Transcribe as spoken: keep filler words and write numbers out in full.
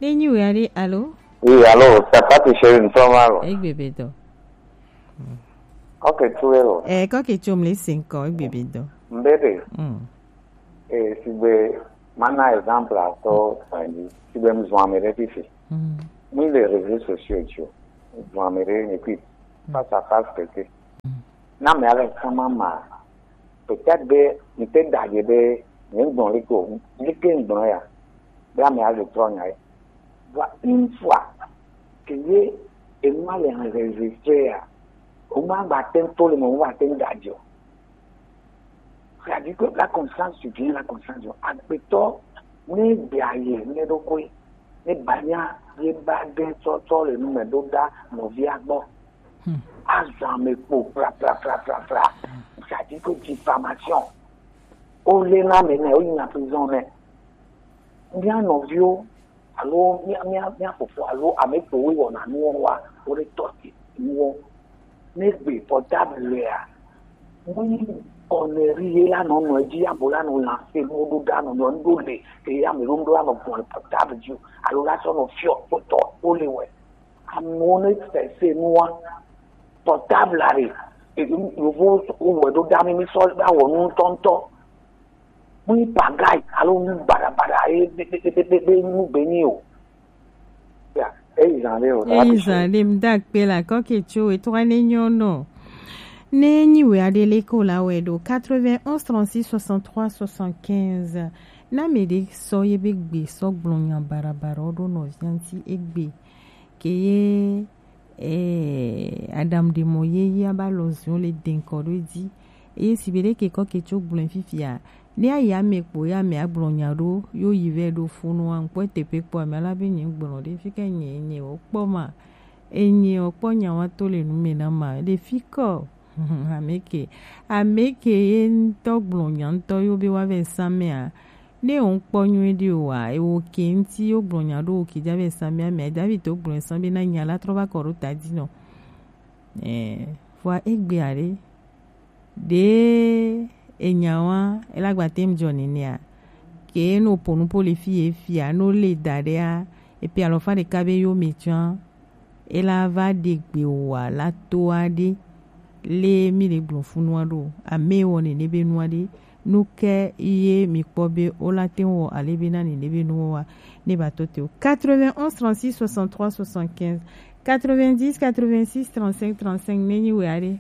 Ne nyi wea ɖe, alo? Oui, alo, c'est pas que chérie, nous sommes là. Egbe be dɔ. Ok, tu es là. Eh, kɔ ke tso mle si ŋkɔ, egbe be dɔ. Mbebe. Mm. Eh, si be, mana exemple à toi, Sandy. Si be, mzwa me de fifi. Mm. Ni les réseaux sociaux, tu. Mzwa me de, et puis, face à face, que. Mm. Na me avec sa maman. Peut-être be, mi te da je be, mi gbɔn le ko, mi ke gbɔn ya. Be ame a le trɔ nya ye. Vɔ une fois que ye enua le enregistré ya, o ma gba te to le mo, o ma te da je o. C'est-à-dire que la conscience, tu viens la conscience, agbetɔ ne gbe aye ne ɖo koe, ne banya ye ba de tsɔtsɔ le nu me ɖo da nɔvia gbɔ. Hmm. Azɔ ame kpo pra, pra, pra, pra, pra. C'est-à-dire que diffamation. O le na me ne, o yi na prison ne. Mía nɔviwo, alo mía, mía, mía fofo, alo ame kpo wo wɔna nuwo wa, wo ɖe tɔ te nuwo. Ne gbe portable lea, nu connerie ye la nɔ nɔ edzi, abo la nɔ lancer nuwo ɖo ɖa nɔ nɔ nu ɖo le, ke ya me ɖo nu ɖo anɔ gbɔn le portable dzi o, alo la sɔ nɔ fiɔ kpɔtɔ wo le wɛ. Amewo ne sese nua, portable are, e, e, yovo wo wɛ ɖo ɖa mi, mi sɔ va wɔ nu ŋutɔŋutɔ. Mu yi pagai alo nu baɖabaɖa ye be, be, be, be, be, be nu be nyi o. Ya, eyi zan ɖe o, eyi zan ɖe, mda kpe la kɔke tso etɔa ne nyɔ nɔ. Ne nyi wɛ aɖe le ko la wɛ ɖo quatre-vingt-onze trente-six soixante-trois soixante-quinze. Na me ɖe sɔ ye be gbe sɔ gblɔ nya baɖabaɖa ɖo nɔvia ŋuti egbe. Ke ye, eh, Adam ɖe mɔ ye ya ba lɔ ziɔ le denkɔ ɖo dzi. Eye si be ɖe ke kɔ ke tso gblɔe fifia. Ne ayi ame kpo ya ame agblɔ nya ɖo, yo yi vɛ ɖo funu wa, ŋkpɔ teƒe kpɔ ame la be nye gblɔ ɖe fi ke nye, nye wo kpɔ ma. Enye wo kpɔ nya wa to le nu me na ma. Ɖe fi kɔ. Ame ke, ame ke ye ŋutɔ gblɔ nya ŋutɔ yo be wa vɛ sa mea. Ne wo kpɔ nyuie ɖi o wa, e wo ke ŋuti yo gblɔ nya ɖo wo ke dza vɛ sa mea, mea dza vi to gblɔ sa be na nya la trɔ va kɔ ɖo ta dzi nɔ. Eh, vɔa egbea ɖe, ɖe enya wa, ela gba te ŋu dzɔ nenea, ke no po nu po le fi ye fia, no le da ɖea, epe alɔfa ɖeka be yo me tsɔa, ela va ɖe gbe wa la to aɖe, le mi le gblɔ funu aɖo, ame wɔ nene be nu aɖe, nu ke ye mi kpɔ be o la te wɔ ale be na nene be nu wa, ne ba to te o. Quatre-vingt-onze trente-six soixante-trois soixante-quinze, quatre-vingt-dix quatre-vingt-six trente-cinq trente-cinq, ne nyi wɛ aɖe.